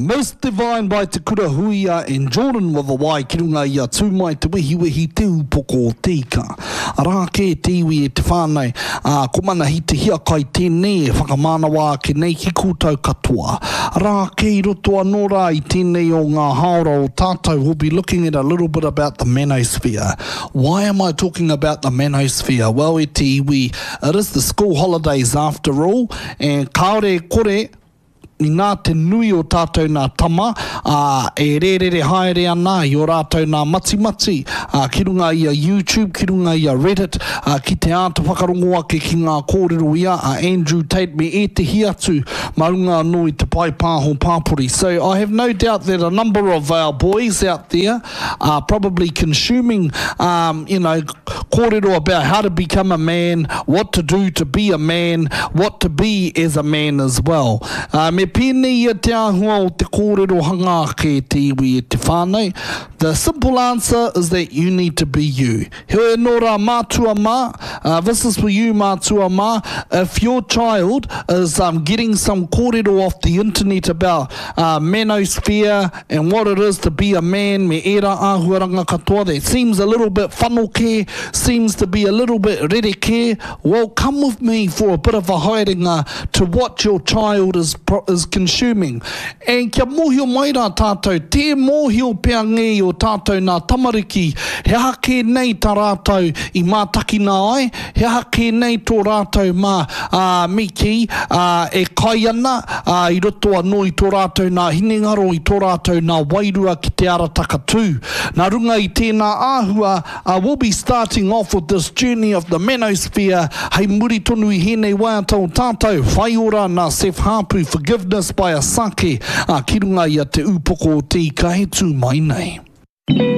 Most Divine by Te Kura Huia and Jordan with a Y ki runga i a Tū Mai Te Wehiwehi Te Ūpoko o Te Ika. Arā kē te iwi e te whānau, ā, ko Manahi Te Hiakai tēnei e whakamānawa ake nei ki koutou katoa. Arā kē i roto anō rā i tēnei o ngā hāora o tātou we'll be looking at a little bit about the manosphere. Why am I talking about the manosphere? Well e te iwi, it is the school holidays after all, and kāore e kore, Inā te nui o tātou nā tama, ā, e rērere haere ana i ō rātou nā matimati, ā, ki runga i a YouTube, ki runga i a Reddit, ā, ki te āta whakarongo ake ki ngā kōrero ia a Andrew Tate me ētehi atu mā runga anō i te pae pāho pāpori. So I have no doubt that a number of our boys out there are probably consuming, um, you know, kōrero about how to become a man, what to do to be a man, what to be as a man as well. Uh, me pēnei ia te āhua o te kōrero hanga ake e te iwi e te whānau. The simple answer is that you need to be you. Heoi anō rā mātua mā, uh, this is for you mātua mā, if your child is um, getting some kōrero off the internet about uh, manosphere, And what it is to be a man me ērā āhuaranga katoa that seems a little bit whanokē, seems to be a little bit rerekē, well come with me for a bit of a haerenga to what your child is, is consuming. And kia mōhio mai rā tātou, tē mōhio pea ngē i o tātou nā tamariki he aha kē nei tā rātou i mātakina ai, He aha kē nei tō rātou mā, ā, me kī, ā, e kai ana, ā, i roto anō i tō rātou nā hinengaro, i tō rātou nā wairua ki te ara takatū. Nā runga i tēnā āhua, ā, we'll be starting off with this journey of the manosphere hei muri tonu i hēnei waiata o tātou, Whaiora nā Seth Haapu, Forgiveness by Asake, ā, ki runga i a Te Ūpoko o Te Ika e tū mai nei.